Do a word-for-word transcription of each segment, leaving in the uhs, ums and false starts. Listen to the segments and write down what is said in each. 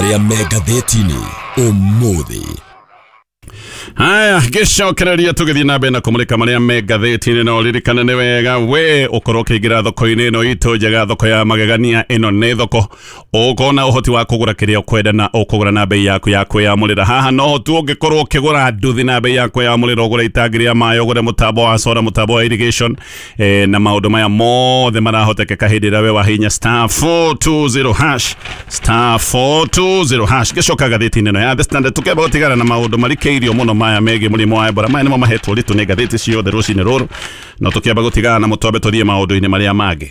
Marĩa me ngathĩti-inĩ ũmũthĩ. Haya, gĩcokereria tũgĩthiĩ na mbere na kũmũrĩka marĩa me ngathĩti-inĩ, na ũririkane nĩ wega we ũkorwo ũkĩingĩra thoko-inĩ ĩno itũ njega, thoko ya magegania. Ĩno nĩ thoko ũkona ũhoti wa kũgũra kĩrĩa ũkwenda na ũkũgũra na bei yaku ya kwĩyamũrĩra. Haha no tu ũngĩkorwo ũkĩgũra nduthi na bei ya kwĩyamũrĩra, ũgũre itangi rĩa maĩ, ũgũre mũtambo wa solar, mũtambo wa irrigation, eh, na maũndũ maya mothe marahotekeka hĩndĩ ĩrĩa we wahinya star four two zero hash, star four two zero hash. Gĩcoka ngathĩti-inĩ ĩno ya The Standard tũkĩamba gũtigana na maũndũ marikĩirio mũno maya megiĩ mũrimũ wa Ebola. Maya nĩmo mahetwo ũritũ nĩ ngathĩti ciothe rũcinĩ rũrũ, no tũkĩamba gũtigana na mũtwambe tũthiĩ maũndũ-inĩ marĩa mangĩ.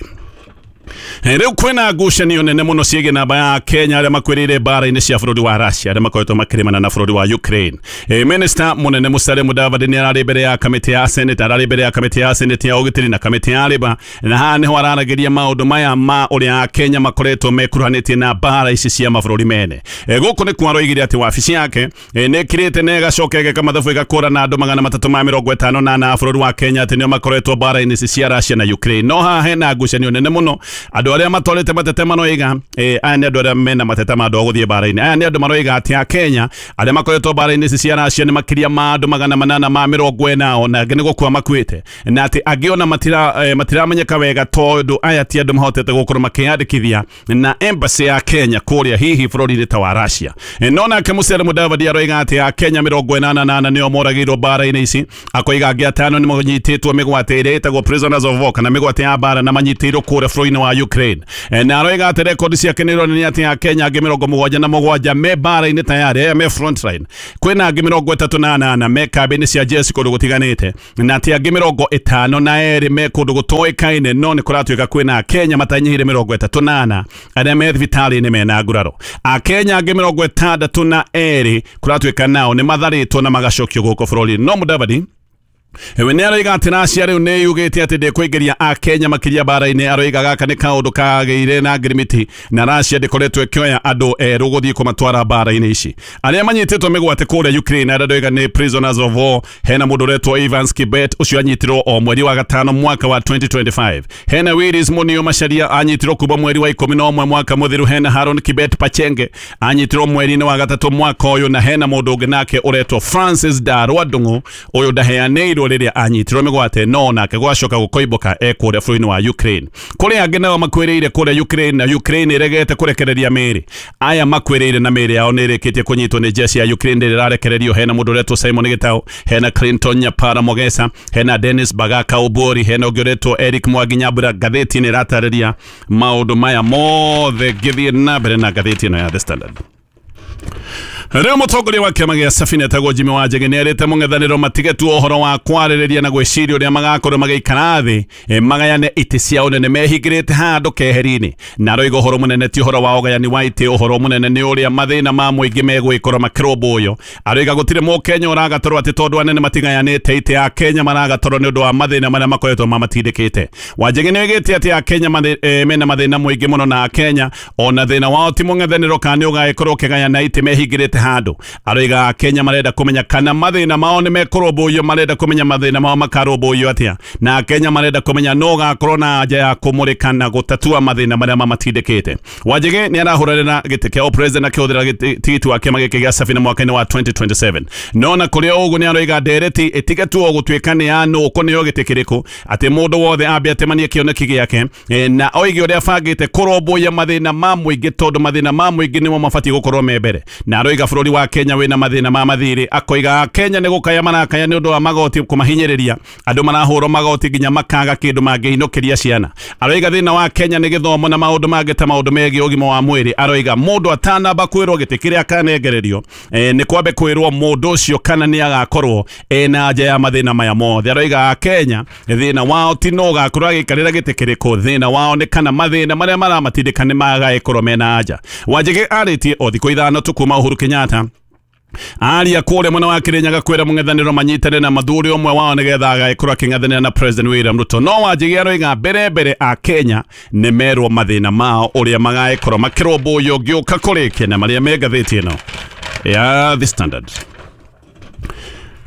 Rĩu kwĩna ngucanio nene mũno ciĩgiĩ namba ya Kenya arĩa makuĩrĩire mbara-inĩ cia bũrũri wa Russia, arĩa makoretwo makĩrĩmana na bũrũri wa Ukraine. E, Minister mũnene Musalia Mudavadi nĩ ararĩ mbere ya kamĩtĩ ya Senate, ararĩ mbere ya kamĩtĩ ya Senate ya ũgitĩri na kamĩtĩ ya Labour, na haha nĩho araragĩria maũndũ maya ma ũrĩa Kenya makoretwo mekuruhanĩtie na mbara ici cia mabũrũri mene. E, gũkũ nĩ kwa aroigire atĩ wabici yake e, nĩ ĩkirĩte na ĩgacoka ĩgeka mathabu ĩgakũra na andũ magana matatũ ma mĩrongo ĩtano na ana a bũrũri wa Kenya atĩ nĩo makoretwo mbara-inĩ ici cia Russia na Ukraine. No haha hena ngucanio nene mũno. Andũ arĩa matwarĩte mateta maroiga, eh, aya nĩ andũ arĩa mena mateta ma andũ a gũthiĩ mbara-inĩ. Aya nĩ andũ maroiga atĩ a Kenya arĩa makoretwo mbara-inĩ ici cia Russia nĩ makĩria ma andũ magana manana ma mĩrongo ĩna ona angĩ nĩ gũkua makuĩte, na atĩ angĩ ona matira, eh, matiramenyeka wega tondũ aya ti andũ mahotete gũkorwo makĩyandĩkithia na embassy ya Kenya kũrĩa hihi bũrũri-inĩ ta wa Russia. Eh, no nake Musalia Mudavadi aroiga atĩ a Kenya mĩrongo ĩnana na ana nĩo moragĩirwo mbara-inĩ ici, akoiga angĩ atano nĩ manyitĩtwo mĩgwate ĩrĩa ĩtagwo prisoners of war kana mĩgwate ya mbara na manyitĩirwo kũrĩa bũrũri-inĩ wa Ukraine. E, na aroiga atĩ rekondi ciake nĩ ironania atĩ a Kenya angĩ mĩrongo mũgwanja na mũgwanja me mbara-inĩ tayari, aya me front line. Kwĩna angĩ mĩrongo ĩtatũ na anana me kambĩ-inĩ cia jeshi kũndũ gũtiganĩte, na atĩ angĩ mĩrongo ĩtano na erĩ me kũndũ gũtoĩkaine, no nĩ kũratuĩka kwĩna Kenya matanyihĩire mĩrongo ĩtatũ na ana arĩa me thibitarĩ-inĩ mena nguraro. Akenya angĩ mĩrongo ĩtandatũ na erĩ kũratuĩka nao nĩ matharĩtwo na magacokio gũkũ bũrũri-inĩ. No Mudavadi we nĩ aroiga atĩ Russia rĩu nĩ yugĩte atĩ ndĩkũingĩria Akenya makĩria mbara-inĩ. Aroiga gaka nĩ kaũndũ kagĩire na ngirimiti na Russia ndĩkoretwo ĩkĩoya andũ erũ gũthiĩ kũmatwara mbara-inĩ ici. Arĩa manyitĩtwo mĩgwate kũrĩa Ukraine arĩa ndoiga nĩ prisoners of war, hena mũndũ ũretwo Evans Kibet, ũcio anyitirwo o mweri wa gatano mwaka wa twenty twenty-five. Hena Willis Munio Macharia anyitirwo kuma mweri wa ikũmi na ũmwe mwaka mũthiru. Hena Haron Kibet Pachenge anyitirwo mweri-inĩ wa gatatũ mwaka ũyũ, na hena mũndũ ũngĩ nake ũretwo Francis Darwa Ndung'u, ũyũ ndaheanĩirwo rĩrĩa anyitirwo mĩgwate, no nake gwacoka gũkoimbũka e kũrĩa bũrũri-inĩ wa Ukraine. Kũrĩ angĩ nao makuĩrĩire kũrĩa Ukraine, na Ukraine ĩregete kũrekereria mĩĩrĩ. Aya makuĩrĩire na mĩĩrĩ yao nĩ ĩrĩkĩtie kũnyitwo nĩ jeshi ya Ukraine rĩrĩa ĩrarekererio. Hena mũndũ ũretwo Simon Gitau, hena Clinton Nyapara Mogesa, hena Dennis Bagaka Obori, hena ũngĩ ũretwo Eric Mwangi Nyambura. Ngathĩti nĩ ĩratarĩria maũndũ maya mothe. Ngĩthiĩ na mbere na ngathĩti ĩno ya The Standard. Rĩu mũtongoria wa kĩama gĩa Safina etagwo Jimmy Wanjigi nĩ erĩte mũng'ethanĩro matige tu ũhoro wa kwarĩrĩria na gwĩciria ũrĩa magakorwo magĩikara thĩ, e, magayane itĩ cia ũnene mehingĩrĩte handũ keheri-inĩ. Na aroiga ũhoro mũnene ti ũhoro wa ũgayani wa itĩ, ũhoro mũnene nĩ ũrĩa mathĩna ma mũingĩ megwĩkorwo makĩrũmbũywo. Aroiga gũtirĩ mũkenya ũragatorwo atĩ tondũ anene matigayanĩte itĩ ya Kenya maragatorwo nĩ ũndũ wa mathĩna marĩa makoretwo mamatindĩkĩte. Wanjigi nĩ oigĩte atĩ Akenya e, mena mathĩna mũingĩ mũno, na Akenya ona thĩna wao ti mũng'ethanĩro kana nĩ ũgagĩkorwo ũkĩgayana itĩ mehingĩrĩte handũ. Aroiga Kenya marenda kũmenya kana mathĩna mao nĩ mekũrũmbũiyo, marenda kũmenya mathĩna mao makarũmbũiyo atĩa, na Kenya marenda kũmenya no gakorwo na anja ya kũmũrĩka na gũtatua mathĩna marĩa mamatindĩkĩte. Wanjigi nĩ arahũranĩra gĩtĩ kĩa president akĩhũthĩra tigiti wa kĩama gĩkĩ gĩa Safina mwaka-inĩ wa twenty twenty-seven. No na kũrĩ o ũguo nĩ aroiga ndereti ĩtige tu o gũtuĩka nĩ ya nũ ũkũneo gĩtĩ kĩrĩkũ, atĩ mũndũ wothe ambe atemanie kĩoneki gĩake, e, na oige ũrĩa abangĩte kũrũmbũiya mathĩna ma mũingĩ, tondũ mathĩna ma mũingĩ nĩmo mabatiĩ gũkorwo me mbere. Na aroiga bũrũri wa Kenya wĩna mathĩna ma mathirĩ, akoiga Kenya nĩ gũkaya marakaya nĩ ũndũ wa magoti kũmahinyĩrĩria, andũ marahũrwo magoti nginya makaga kĩndũ mangĩinũkĩria ciana. Aroiga thĩna wa Kenya nĩ gĩthomo na maũndũ mangĩ ta maũndũ megiĩ ũgima wa mwĩrĩ. Aroiga mũndũ atanamba kwĩrwo gĩtĩ kĩrĩa akanengererio, e, nĩ kwambe kwĩrwo mũndũ ũcio kana nĩ agakorwo ena anja ya mathĩna maya mothe. Aroiga Kenya thĩna wao ti no ũgakorwo agĩikarĩra gĩtĩ kĩrĩkũ, thĩna wao nĩ kana mathĩna marĩa maramatindĩka nĩ magagĩkorwo mena anja. Wanjigi arĩtie o thikũ ithano tu kuma Uhuru Kenyatta aria kũrĩa mwena wa Kirinyaga kwĩra mũng'ethanĩro manyitane na mathuri ũmwe wao nĩgetha agagĩkorwo akĩng'ethanĩra na President William Ruto. No Wanjigi aroiga mbere mbere a Kenya nĩ merwo mathĩna mao ũrĩa magagĩkorwo makĩrũmbũiyo ngĩũka kũrĩkia na marĩa me ngathĩti ĩno ya The Standard.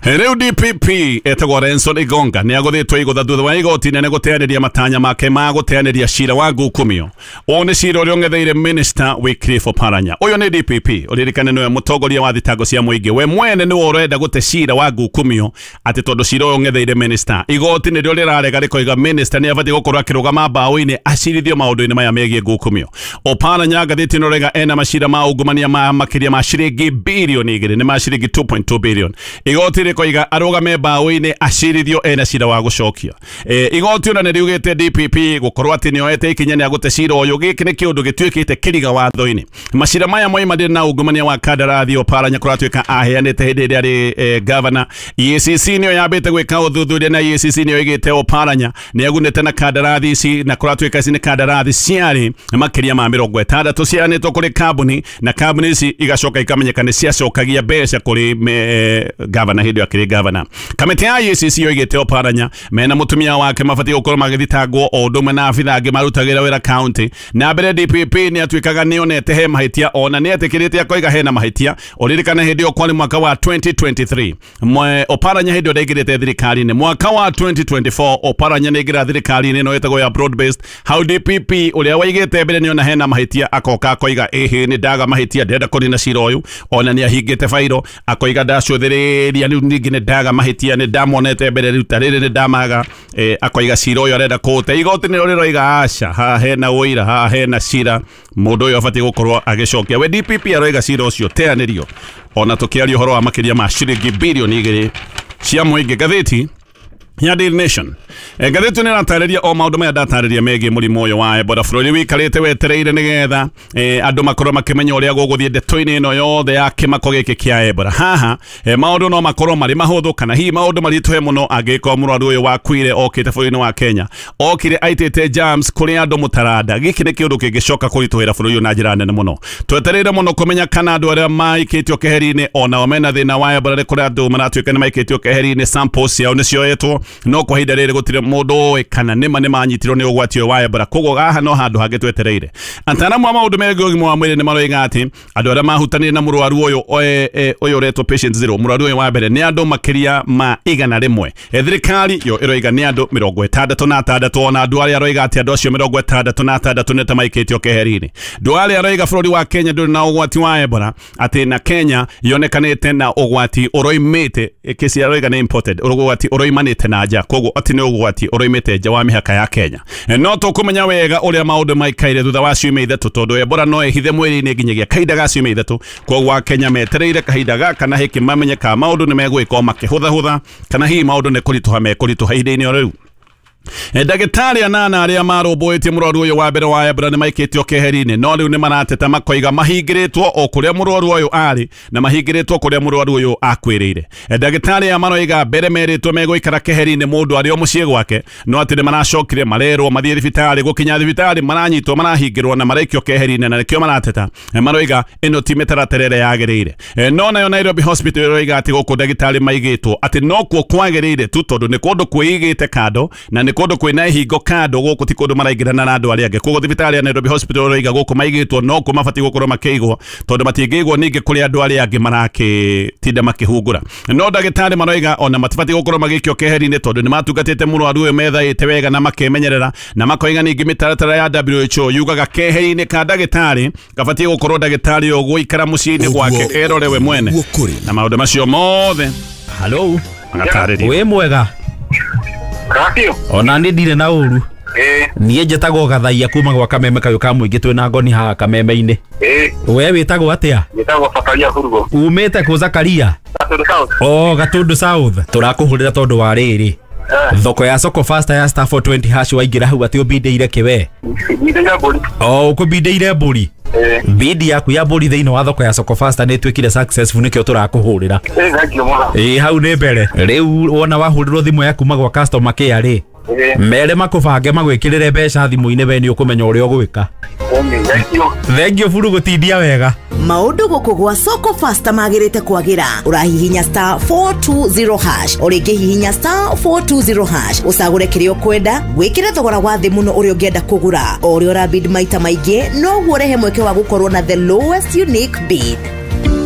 Rĩu D P P etagwo Renson Igonga nĩ agũthĩtwo igũtha thutha wa igoti inene gũteanĩria matanya make ma gũteanĩria cira wa ngukumio. Ũyũ nĩ cira ũrĩa ũng'etheire Minister Wycliffe Oparanya. Ũyũ nĩ D P P, ũririkane nĩwe mũtongoria wa thitango cia mũingĩ. We mwene nĩwe ũrenda gũte cira wa ngukumio atĩ tondũ cira ũyũ ũng'etheire minister. Igoti nĩrĩo rĩrarega rĩkoiga minister nĩ abatiĩ gũkorwo akĩrũgama mbaũ-inĩ acirithio maũndũ-inĩ maya megiĩ ngukumio. Oparanya ngathĩti ĩno rega ena macira ma ungumania ma makĩria ma ciringi bilioni igĩrĩ, nĩ ma ciringi two point two billion. Igoti rĩkoiga arũgame mbaũ-inĩ acirithio ena cira wa gũcokia. E, igoti ona nĩ riugĩte D P P gũkorwo atĩ nĩoete ikinya nĩ agũte cira ũyũ. Gĩkĩ nĩ kĩũndũ gĩtuĩkĩte kĩriga watho-inĩ. Macira maya moimanire na ungumania wa kandarathi Oparanya kũratuĩka aheanĩte hĩndĩ ĩrĩa arĩ e, governor. E A C C nĩyo yambĩte gwĩka ũthuthuria na E A C C nĩyo ĩgĩte Oparanya nĩ agunĩte na kandarathi ici, na kũratuĩka ici nĩ kandarathi ciarĩ makĩria ma mĩrongo ĩtandatũ ciaheanĩtwo kũrĩ kambuni, na kambuni ici igacoka ikamenyeka nĩ ciacokagia mbeca kũrĩ e, governor hĩndĩ ĩyo akĩrĩ governor. Kamĩtĩ ya E A C C yoigĩte Oparanya mena mũtumia wake mabatiĩ gũkorwo magĩthitangwo o ũndũ ũmwe na abithaa angĩ marutagĩra wĩra county. Na mbere D P P nĩ atuĩkaga nĩonete he mahĩtia, ona nĩ etĩkĩrĩte akoiga hena mahĩtia. Ũririkane hĩndĩ ĩyo kwarĩ mwaka wa twenty twenty-three. Mwe Oparanya hĩndĩ ĩyo ndaingĩrĩte thirikari-inĩ. Mwaka wa twenty twenty-four Oparanya nĩ aingĩra thirikari-inĩ ĩno ĩtagwo ya broad based. Hau D P P ũrĩa waigĩte mbere nĩona hena mahĩtia akoka akoiga ĩhĩ nĩ ndaga mahĩtia ndĩrenda kũnina cira ũyũ. Ona nĩ ahingĩte bairo akoiga ndacũthĩrĩria rĩu ningĩ nĩ ndaga mahĩtia nĩ ndamonete mbere rĩu ta rĩrĩ nĩ ndamaga. E, akoiga cira ũyũ arenda kũũte. Igoti nĩrĩo rĩroiga aca, haha hena ũira, haha hena cira, mũndũ ũyũ abatiĩ gũkorwo agĩcokia. We D P P aroiga cira ũcio teanĩrio, ona tũkĩaria ũhoro wa makĩria ma ciringi bilioni igĩrĩ cia mũingĩ. Ngathĩti ya Daily Nation. E, ngathĩti nĩ ĩratarĩria o maũndũ maya ndatarĩria megiĩ mũrimũ ũyũ wa Ebola. Bũrũri wĩikarĩte wetereire nĩgetha e, andũ makorwo makĩmenya ũrĩa gũgũthiĩ ndeto-inĩ ĩno yothe ya kĩmako gĩkĩ kĩa Ebola. Haha e, maũndũ no makorwo marĩ mahũthũ kana hihi maũndũ maritũhe mũno angĩkorwo mũrwaru ũyũ wakuire okĩte bũrũri-inĩ wa Kenya, okire aitĩte germs kũrĩ andũ mũtaranda. Gĩkĩ nĩ kĩũndũ kĩngĩcoka kũritũhĩra bũrũri ũyũ na njĩra nene mũno. Twetereire mũno kũmenya kana andũ arĩa maikĩtio keheri-inĩ onao mena thĩna wa Ebola. Nĩ kũrĩ andũ maratuĩka nĩ maikĩtio keheri-inĩ, samples ciao nĩ cioetwo, no kwa ihinda rĩrĩ gũtirĩ mũndũ ũĩ kana nĩma nĩ manyitirwo nĩ ũgwati ũyũ wa Ebola. Koguo haha no handũ hangĩ twetereire. Ataaramu a maũndũ megiĩ ũgima wa mwĩrĩ nĩ maroiga atĩ andũ arĩa mahutanire na mũrwaru ũyũ ũyũ ũretwo patient zero, mũrwaru ũyũ wa mbere, nĩ andũ makĩria ma igana rĩmwe. Thirikari yo ĩroiga nĩ andũ mĩrongo ĩtandatũ na atandatũ, ona andũ arĩa aroiga atĩ andũ acio mĩrongo ĩtandatũ na atandatũ nĩ ta maikĩtio keheri-inĩ. Andũ arĩa aroiga bũrũri wa Kenya ndũrĩ na ũgwati wa Ebola, atĩ na Kenya yonekanĩte na ũgwati ũroimĩte, kesi aroiga nĩ imported, ũgwati ũroimanĩte na nja, koguo atĩ nĩ ũgwati ũroimĩte nja wa mĩhaka ya Kenya. No tũkũmenya wega ũrĩa maũndũ maikaire thutha wa ciumia ithatũ, tondũ Ebola no ĩhithe mwĩrĩ-inĩ nginyagia kahinda ga ciumia ithatũ. Koguo Akenya metereire kahinda gaka na hĩkĩ mamenye kana maũndũ nĩ megwĩka makĩhũthahũtha kana hihi maũndũ nĩ kũritũha mekũritũha ihinda-inĩ o rĩu. Ndagĩtarĩ anana arĩa marũmbũĩtie mũrwaru ũyũ wa mbere wa Ebola nĩ maikĩtio keheri-inĩ, no rĩu nĩ marateta makoiga mahingĩrĩtwo o kũrĩa mũrwaru ũyũ arĩ na mahingĩrĩtwo kũrĩa mũrwaru ũyũ akuĩrĩire. Ndagĩtarĩ aya maroiga mbere merĩtwo megũikara keheri-inĩ mũndũ arĩ o mũciĩ gwake, no atĩ nĩ maracokire marerwo mathiĩ thibitarĩ. Gũkinya thibitarĩ maranyitwo, marahingĩrwo na maraikio keheri-inĩ, na nĩkĩo marateta. Maroiga ĩno ti mĩtaratara ĩrĩa yagĩrĩire. No nayo Nairobi Hospital ĩroiga atĩ gũkũ ndagĩtarĩ maigĩtwo atĩ nokuo kwagĩrĩire tu, tondũ nĩ kũndũ kwĩigĩte kando na nĩ kũndũ kwĩna ihingo kando, gũkũ ti kũndũ maraingĩrana na andũ arĩa angĩ. Koguo thibitarĩ ya Nairobi Hospital ĩroiga gũkũ maigĩtwo nokuo mabatiĩ gũkorwo makĩigwo, tondũ matingĩigwo ningĩ kũrĩ andũ arĩa angĩ marakĩtinda makĩhungura. No ndagĩtarĩ maroiga ona matibatiĩ gũkorwo magĩikio keheri-inĩ, tondũ nĩ matungatĩte mũrwaru ũyũ methaĩte wega na makemenyerera, na makoiga ningĩ mĩtaratara ya W H O yugaga keheri-inĩ ka ndagĩtarĩ gabatiĩ gũkorwo ndagĩtarĩ ũyũ gũikara mũciĩ-inĩ gwake erore we mwene na maũndũ macio mothe. Hello, magatarĩrio. Wĩ mwega? Racio. Ona nĩ ndirĩ na ũru. Eh. Niĩ njĩtagwo Gathaia kuma gwa Kameme kayũ ka mũingĩ twĩna ngoni haha Kameme-inĩ. Eh. We wĩtagwo atĩa? Njĩtagwo Zakaria Hurugo. Umĩte kũ Zakaria? Gatundu South. Oh, Gatundu South. Tũrakũhũrĩra tondũ wa rĩrĩ. Thoko ya Soko Fasta ya star four twenty hash waingĩra hau atĩ ũbindĩire kĩ we? Mbindĩire mbũri. Oh, ũkũbindĩire mbũri. Eh. Bidi yaku ya mbũri thĩinĩ wa thoko ya Soko Fasta nĩ ĩtuĩkire successful, nĩkĩo tũrakũhũrĩra. Eh, thank you mũno. Ĩ hau nĩ mbere. Rĩu wona wahũrĩrwo thimũ ya kuma gwa customer care rĩ, mere makũbange magwĩkĩrĩre mbeca thimũ-inĩ, we nĩ ũkũmenya ũrĩa ũgwĩka. Thank you. Thank you buru gũtindia wega. Maũndũ gũkũ gwa Soko Fasta magĩrĩte kwagĩra. Ũrahihinya star four two zero hash, o rĩngĩ hihinya star four two zero hash, ũcagũre kĩrĩa ũkwenda, wĩkĩre thogora wa thĩ mũno ũrĩa ũngĩenda kũgũra. O ũrĩa ũrabid maita maingĩ, noguo ũrehe mweke wa gũkorwo na the lowest unique bid.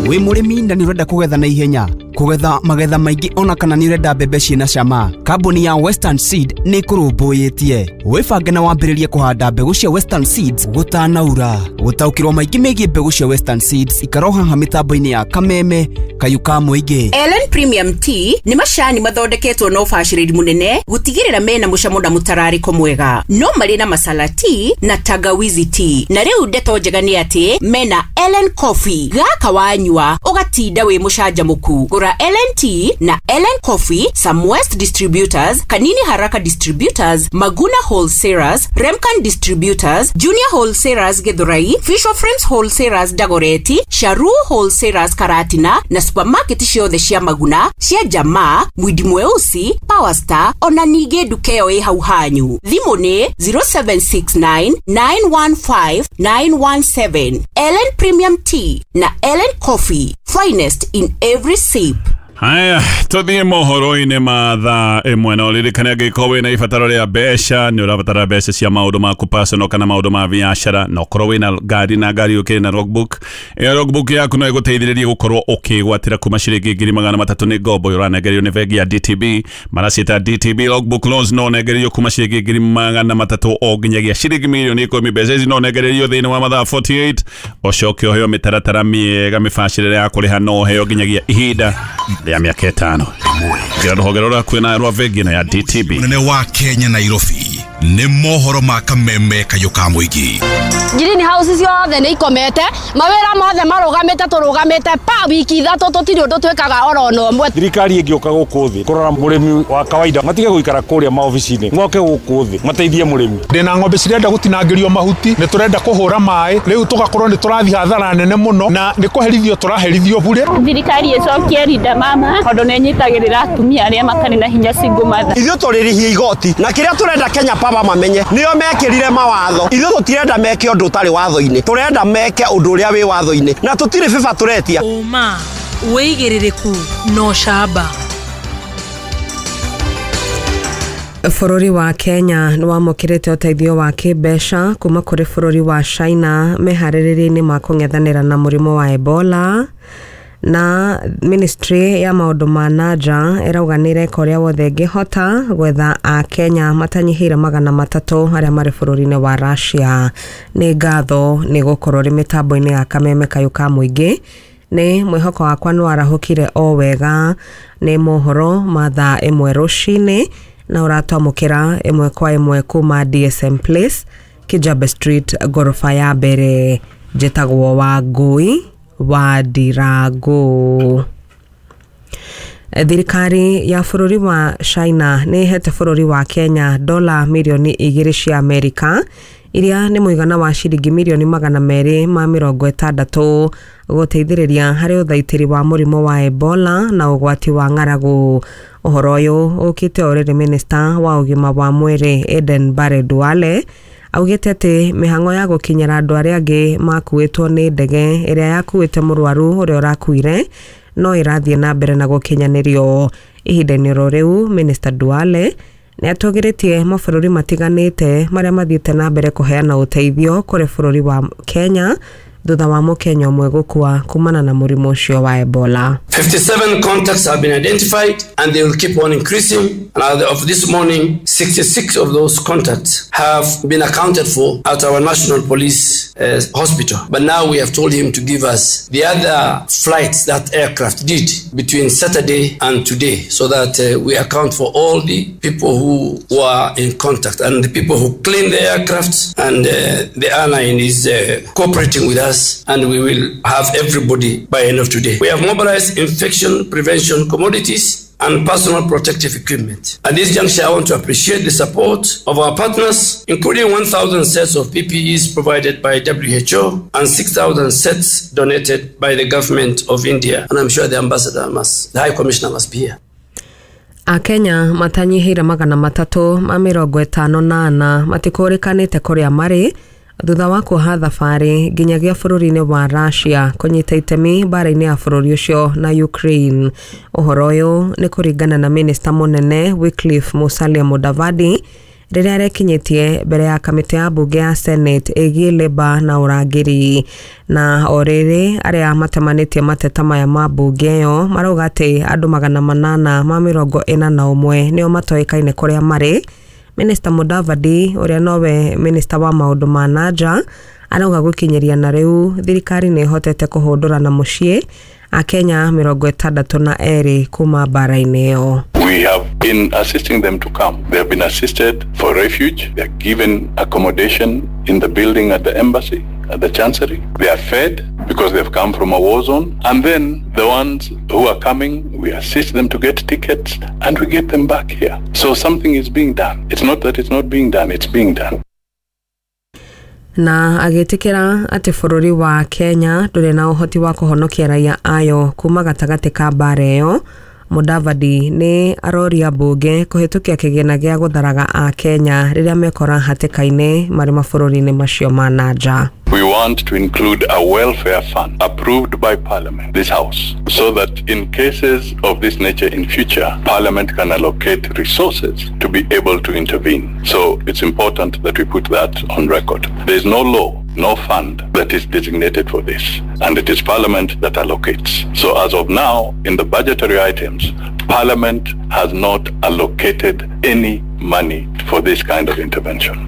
Wĩ mũrĩmi na nĩ ũrenda kũgetha na ihenya, Kũgetha magetha maingĩ ona kana nĩ ũrenda mbembe ciĩna cama. Kambuni ya Western Seed nĩ ĩkũrũmbũyĩtie. Wĩbange na wambĩrĩrie kũhanda mbegũ cia Western Seeds gũtanaura. Gũtaũkĩrwo maingĩ megiĩ mbegũ cia Western Seeds ikara haha mĩtambo-inĩ ya Kameme Kayũ ka mũingĩ. Ellen Premium Tea nĩ macani mathondeketwo na ũbacĩrĩri mũnene gũtigĩrĩra mena mũcamo na mũtararĩko mwega. No marĩ na masala tea na tangawizi tea. Na rĩu ndeto njega nĩ atĩ mena Ellen Coffee. Gaka wanyua ũgatinda wĩ mũcanjamũku. Gũra Ellen Tea na Ellen Coffee, Samwest Distributors, Kanini Haraka Distributors, Maguna Wholesalers, Remcan Distributors, Junior Wholesalers Githurai, Fisher Frames Wholesalers Dagoreti, Sharu Wholesalers Karatina na supermarket ciothe cia Maguna, cia Jamaa, Mwindi Mweusi, Power Star ona ningĩ nduka ĩyo ĩ hau hanyu. Thimũ nĩ zero seven six nine, nine one five, nine one seven. Ellen Premium Tea na Ellen Coffee, finest in every sip. Haya, tuthie mohoro-inĩ ma thaa ĩmwe na ũririkane angĩkorwo wĩna ibataro rĩa mbeca, nĩ ũrabatara mbeca cia maũndũ maku personal kana maũndũ ma biacara, na ũkorwo wĩna ngari na ngari ũkĩrĩ na logbook. Ĩyo logbook yaku no ĩgũteithĩrĩrie gũkorwo ũkĩgwatĩra kuma ciringi ngiri magana matatũ nĩ ngombo ũranengerio nĩ bengi ya D T B. Maraciĩta D T B logbook loans, no ũnengererio kuma ciringi ngiri magana matatũ o nginyagia ciringi mirioni ikũmi. Mbeca ici no ũnengererio thĩinĩ wa mathaa forty eight, ũcoke ũheo mĩtaratara mĩega mĩbacĩrĩre ya kũrĩha, no ũheo nginyagia ihinda ya miaka ĩtano. Ngira rũhonge rũrĩa kwĩna rwa bengi ĩno ya D T B. Mũnene wa Kenya Nairobi nĩ mohoro ma Kameme Kayũ ka mũingĩ. Green house ciothe nĩ ikomete, mawĩra mothe marũgamĩte, tũrũgamĩte pa wiki ithatũ tũtirĩ ũndũ twĩkaga oro na ũmwe. Thirikari ĩngĩũka gũkũ thĩ kũrora mũrĩmi wa kawaida, matige gũikara kũrĩa maobici-inĩ, moke gũkũ thĩ mateithie mũrĩmi. Ndĩna ng'ombe cirenda gũtinangĩrio mahuti, nĩ tũrenda kũhũra maĩ, rĩu tũgakorwo nĩ tũrathiĩ hathara nene mũno na nĩ kũherithio tũraherithio bure. Thirikari ĩcokie rinda mama tondũ nĩ ĩnyitagĩrĩra atumia arĩa matarĩ na hinya single mother. Ithuĩ tũrĩrĩhia igoti na kĩrĩa tũrenda Kenya Power mamenye nĩo mekĩrire mawatho. Ithuĩ tũtirenda meke ũndũ ũtarĩ watho-inĩ, tũrenda meke ũndũ ũrĩa wĩ watho-inĩ na tũtirĩ bĩba tũretia. Ũma, wĩigĩrĩrĩku na ũcamba. Bũrũri wa Kenya nĩ wamũkĩrĩte ũteithio wa kĩmbeca kuma kũrĩ bũrũri wa China meharĩrĩria-inĩ ma kũng'ethanĩra na mũrimũ wa Ebola. Na ministry ya maũndũ ma nanja ĩrauga nĩ ĩreka ũrĩa wothe ĩngĩhota gwetha a Kenya matanyihĩire magana matatũ arĩa marĩ bũrũri-inĩ wa Russia. Nĩ ngatho nĩ gũkorwo rĩ mĩtambo-inĩ ya Kameme Kayũ ka mũingĩ. Nĩ mwĩhoko wakwa nĩ warahũkire o wega. Nĩ mohoro ma thaa ĩmwe rũcinĩ na ũratwamũkĩra ĩmwe kwa ĩmwe kuma D S M Place, Kijabe Street, gorofa ya mbere. Njĩtagwo Wangũi wa Ndirango. Thirikari ya bũrũri wa China nĩ ĩhete bũrũri wa Kenya dola mirioni igĩrĩ cia Amerika iria nĩ mũigana wa ciringi mirioni magana merĩ ma mĩrongo ĩtandatũ gũteithĩrĩria harĩ ũthaitĩri wa mũrimũ wa Ebola na ũgwati wa ng'aragu. Ũhoro ũyũ ũkĩte o rĩrĩ minista wa ũgima wa mwĩrĩ Eden Bare Duale augĩte atĩ mĩhang'o ya gũkinyĩra andũ arĩa angĩ makuĩtwo nĩ ndege ĩrĩa yakuĩte mũrwaru ũrĩa ũrakuire no ĩrathiĩ na mbere na gũkinyanĩrio. Ihinda-inĩ oro rĩu Minister Duale nĩ atũgĩrĩtie mabũrũri matiganĩte marĩa mathiĩte na mbere kũheana ũteithio kũrĩ bũrũri wa Kenya thutha wa mũkenya ũmwe gũkua kumana na mũrimũ ũcio wa Ebola. fifty-seven contacts have been identified and they will keep on increasing. And as of this morning, sixty-six of those contacts have been accounted for at our National Police uh, Hospital. But now we have told him to give us the other flights that aircraft did between Saturday and today, so that uh, we account for all the people who were in contact and the people who cleaned the aircraft. And uh, the airline is uh, cooperating with us, and we will have everybody by end of today. We have mobilized infection prevention commodities and personal protective equipment. At this juncture, I want to appreciate the support of our partners, including one thousand sets of P P Es provided by W H O and six thousand sets donated by the government of India. And I'm sure the ambassador must, the High Commissioner must be here. Akenya matanyihĩire magana matatũ ma mĩrongo ĩtano na ana matikũrĩkanĩte kũrĩa marĩ thutha wa kuoha thabarĩ nginyagia bũrũri-inĩ wa Russia kũnyita itemi mbara-inĩ ya bũrũri ũcio na Ukraine. Ũhoro ũyũ nĩ kũringana na minista mũnene Wycliffe Musalia Mudavadi rĩrĩa arekinyĩtie mbere ya kamĩtĩ ya mbunge ya Senate ĩgiĩ leba na ũrangĩri. Na o rĩrĩ arĩa matemanĩtie mateta maya ma mbunge ĩyo marauga atĩ andũ magana manana ma mĩrongo ĩna na ũmwe nĩo matoĩkaine kũrĩa marĩ. Minister Mudavadi ũrĩa nowe minister wa maũndũ ma nanja arauga gũkinyĩria na rĩu thirikari nĩ ĩhotete kũhũndũra na mũciĩ akenya mĩrongo ĩtandatũ na erĩ kuma mbara-inĩ ĩyo. We have been assisting them to come. They have been assisted for refuge. They are given accommodation in the building at the embassy, at the chancery. They are fed because they have come from a war zone. And then the ones who are coming, we assist them to get tickets and we get them back here. So something is being done. It's not that it's not being done, it's being done. Na agĩtĩkĩra atĩ bũrũri wa Kenya ndũrĩ na ũhoti wa kũhonokia raia ayo kuma gatagatĩ ka mbara ĩyo, Mudavadi nĩ aroria mbunge kũhĩtũkia kĩgĩna gĩa gũtharaga a Kenya rĩrĩa mekora hatĩka-inĩ marĩ mabũrũri-inĩ macio ma nanja. We want to include a welfare fund approved by Parliament, this House, so that in cases of this nature in future, Parliament can allocate resources to be able to intervene. So it's important that we put that on record. There is no law, no fund that is designated for this, and it is Parliament that allocates. So as of now, in the budgetary items, Parliament has not allocated any money for this kind of intervention.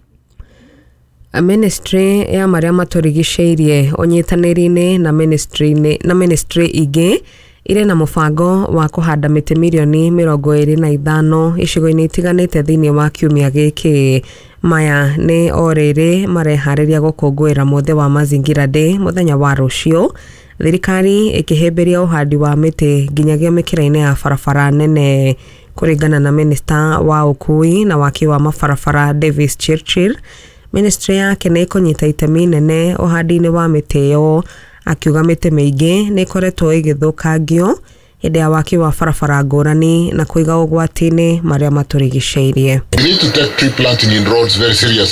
Ministry ya marĩa matũrigicĩirie ũnyitanĩri-inĩ na ministry na ministry ingĩ irĩ na mũbango wa kũhanda mĩtĩ mirioni mĩrongo ĩrĩ na ithano icigo-inĩ itiganĩte thĩinĩ wa kiumia gĩkĩ. Maya nĩ o rĩrĩ mareharĩria gũkũngũĩra mũthĩ wa Mazingira Day mũthenya wa rũciũ, thirikari ĩkĩhĩmbĩria ũhandi wa mĩtĩ nginyagia mĩkĩra-inĩ ya barabara nene. Kũringana na minista wa ũkui na waki wa mabarabara Davis Chirchir, ministry yake nĩ ĩkũnyita itemi nene ũhandi-inĩ wa mĩtĩ ĩyo, akiuga mĩtĩ mĩingĩ nĩ ĩkoretwo ĩgĩthũkangio hĩndĩ ya waki wa barabara ngũrani na kũiga ũgwati-inĩ marĩa matũrigicĩirie. We need to take tree planting in roads very seriously.